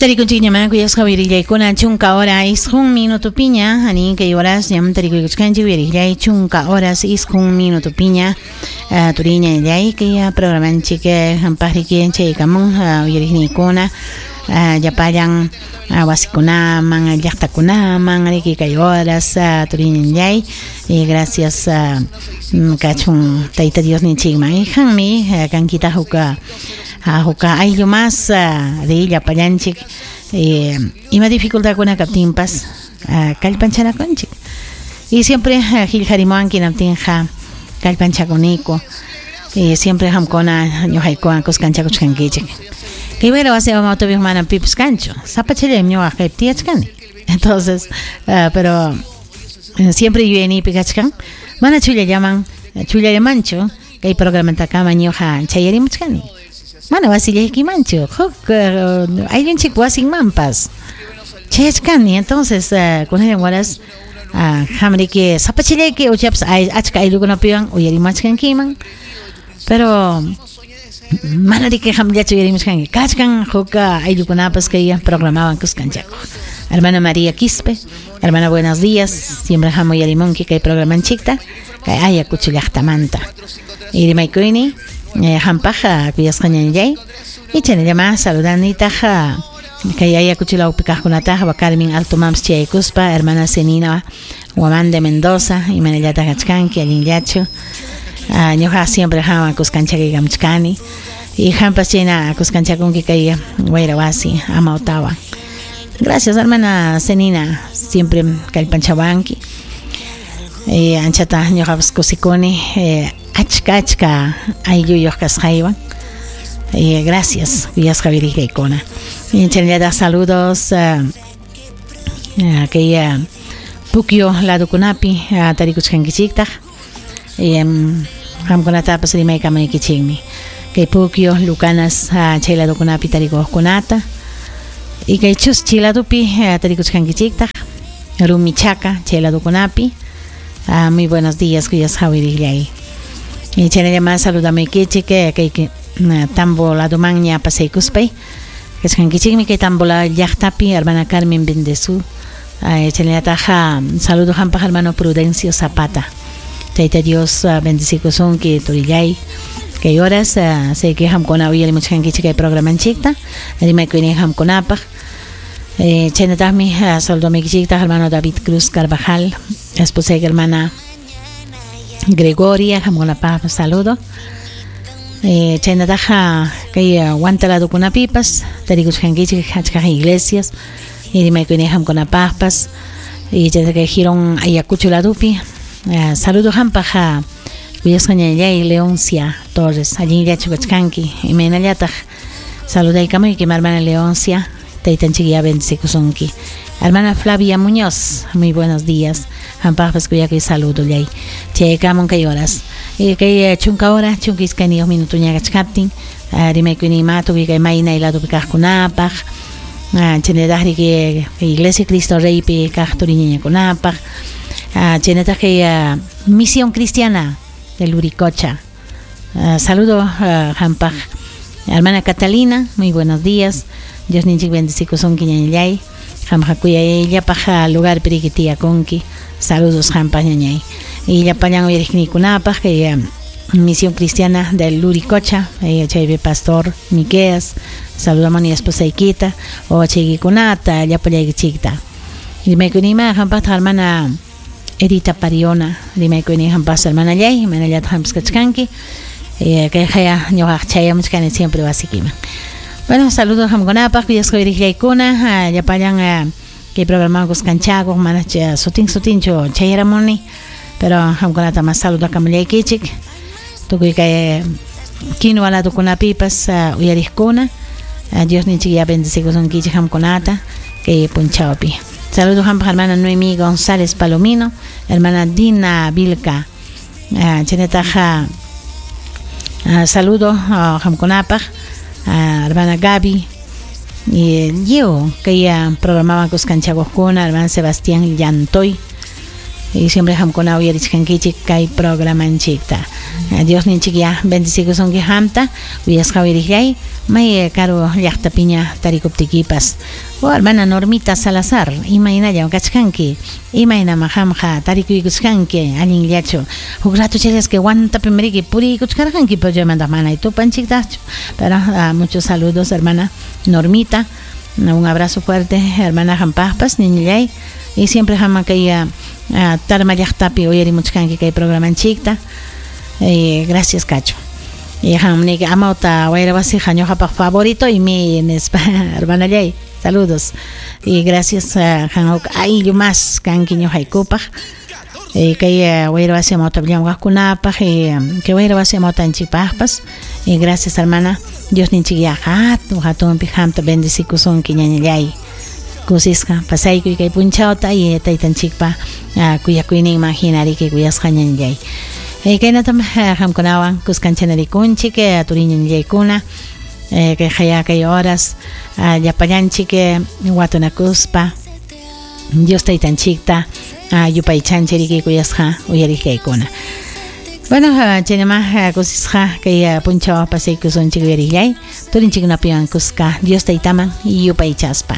Tarikunchikñamá kuyasqa uyarillaykuna chunka hora isqun minutopiña anin kay horas ñam tarikuykuchkanchik uyarillay chunka horas isqun minutopiña turiñallay kay programanchik hampaqriki chaykamun uyariqniykuna llapallan wasikunaman llaqtakunaman riki kay horas turiñallay y gracias kachun Tayta Diosninchikman hanmi kankita huk huka ayllu mas de llapallanchik ima dificultadkuna kaptinpas kallpanchanakunchik y siempre qillqarimuwanki hinaptinqa kallpanchakuniku siempre qamkuna ñuqaykuwan kuskanchakuchkankichik kay wayra wasi amawtapiq manam pipas kanchu sapachallaymi ñuqa kaypi tiyachkani entonces pero siempre yuyayniypi kachkan mana chullallaman chullallamanchu kay programantakama ñuqa chayarimuchkani mana wasillaykimanchu huk ayllunchik wasinmanpas chayachkani entonces kunallan waras qamriki sapachallayki uchapas achka ayllukunapiwan uyarimachkankiman pero mana riki qamllachu uyarimuchkanki kachkan huk ayllukunapas kay programawan kuskanchakuq. Hermana María Quispe, hermana buenos días, siempre qam uyarimunki kay programanchikta kay Ayacucho llaqtamanta. Y rimaykuyni hampaq kuyasqa ñañallay y chaynallama saludanitaq kay Ayacucho lawpi kaqkunataqa Carmen Alto Mams chayaykuspa hermana Zenina Guamán de Mendoza imanallataq kachkanki allinllachu ñuqa siempre qamwan kuskanchakuykamuchkani y qampas chayna kuskanchakunki kay wayra wasi amawtawan. Gracias hermana Zenina, siempre kallpanchawanki anchata ñuqapas kusikuni achka achka aylluyuq kasqaywan. Gracias kuyasqa wirikaykuna. Chaynallataq saludos kay Pukyo ladukunapi tarikuchkankichiktaq qamkunatapas rimaykamunaykichikmi kay Pukyo Lucanas chay ladukunapi tarikuqkunata y kay Chuschi ladupi tarikuchkankichiktaq Rumichaca chay ladukunapi. Muy buenos días kuyasqa wirillay. Y chaynallama saludamaykichik kay Tambo ladumanña pasaykuspay kachkankichikmi kay Tambo llaqtapi hermana Carmen Bendezú. Chaynallataq saludo hampaq hermano Prudencio Zapata. Tayta Dios bendecikusunki turillay kay horas sé que hamkuna uyarimuchkankichik kay programanchikta rimaykuynin hamkunapaq. Chaynataqmi saludamaykichiktaq hermano David Cruz Carvajal, esposa hermana Gregoria, hamkunapaq saludo. Chaynataqa kay Huanta ladukunapipas tarikuchkankichik achka iglesias y rimaykuynin hamkunapaqpas y kay Girón Ayacucho ladupi saludo hampaq kuyasqa ñañallay Leoncia Torres allinllachu kachkanki imaynallataq saludaykamuyki hermana Leoncia taytanchik ya bendecikusunki. Hermana Flavia Muñoz, muy buenos días. Hampaqpas kuyakuy saludo llay. Chaykamun kay horas. Kay chunka hora, chunka iskayniyuq minutuña kachkaptin, rimaykuyninma tukuy kay maynay ladupi kaqkunapaq, chaynallataq riki Iglesia Cristo Reypi kaq turiñañakunapaq, chaynallataq kay Misión Cristiana de Luricocha. Saludo hampaq hermana Catalina, muy buenos días. Dios ninchik bendecikusunki ñañallay. Qamqa kuyayllapaq lugar piriki tiyakunki. Saludos hampaq ñañay. Y llapallan uyariqniykunapaq kay Misión Cristiana del Luricocha, chaypi pastor Miqueas, saludamuni esposaykita, wawachaykikunata, llapallaykichikta. Rimaykunima hampaqta hermana Edita Pariona, rimaykuni hampas hermana llay, manallataq hampas kachkanki. Kay haya ñuqaq chayamuchkani siempre wasikiman. Bueno, saludos hamkunapaq, kuyasqa wirikllaykuna, llapallan kay programa kuskanchakuq, mana sutin sutinchu chayaramuni, pero hamkunata mas saludakamullaykichik. Tukuy kay quinua ladukunapipas uyariqkuna, Dios ninchik ya bendecikusunkichik hamkunata kay punchawpi. Saludos hampaq hermana Noemí González Palomino, hermana Dina Vilca, chaynataqa saludo hamkunapaq hermana Gaby y yo kay programawan kuskanchakuqkuna hermana Sebastián Llantoy. Y siempre qamkuna uyarichkankichik kay programanchikta. Diosninchik ya bendecikusunki qamta, uyasqa uyariqllay, may karu llaqtapiña tarikuptikipas. Oh, hermana Normita Salazar, imaynallam kachkanki, imaynam qamqa tarikuykuchkanki, allinllachu. Huk rato chayasqa Huantapim riki puriykuchkarqanki, pero chaymanta mana tupanchiktaqchu. Pero muchos saludos, hermana Normita. Un abrazo fuerte, hermana qampaqpas, niñallay. Y siempre qamman kay Tarma llaqtapi uyarimuchkanki kay programanchikta. Gracias, Cacho. Y qam niki amawta wayra wasiqa ñuqapaq favorito y mi nispa, hermanallay. Saludos. Y gracias qam huk ayllu más kanki ñuqaykupaq. Kay wayra wasi amawta llamkaqkunapaq y kay wayra wasi amawtanchikpaqpas. Y gracias, hermana. Diosninchik ya hatun hatunpi qamta bendecikusunki ñañallay. Kusisqa pasaykuy kay punchawta y taytanchikpa kuyakuyninman hina riki kuyasqa ñañallay. Kaynatam qamkunawan kuskancha-narikunchik turiñañallaykuna kay qaya kay horas llapallanchik watunakuspa Dios taytanchikta yupaychanchik riki kuyasqa uyariqllaykuna. Bueno, chaynama kusisqa kay punchaw pasaykusunchik uyariqllay turinchikkunapiwan kuska Dios taytaman yupaychaspa.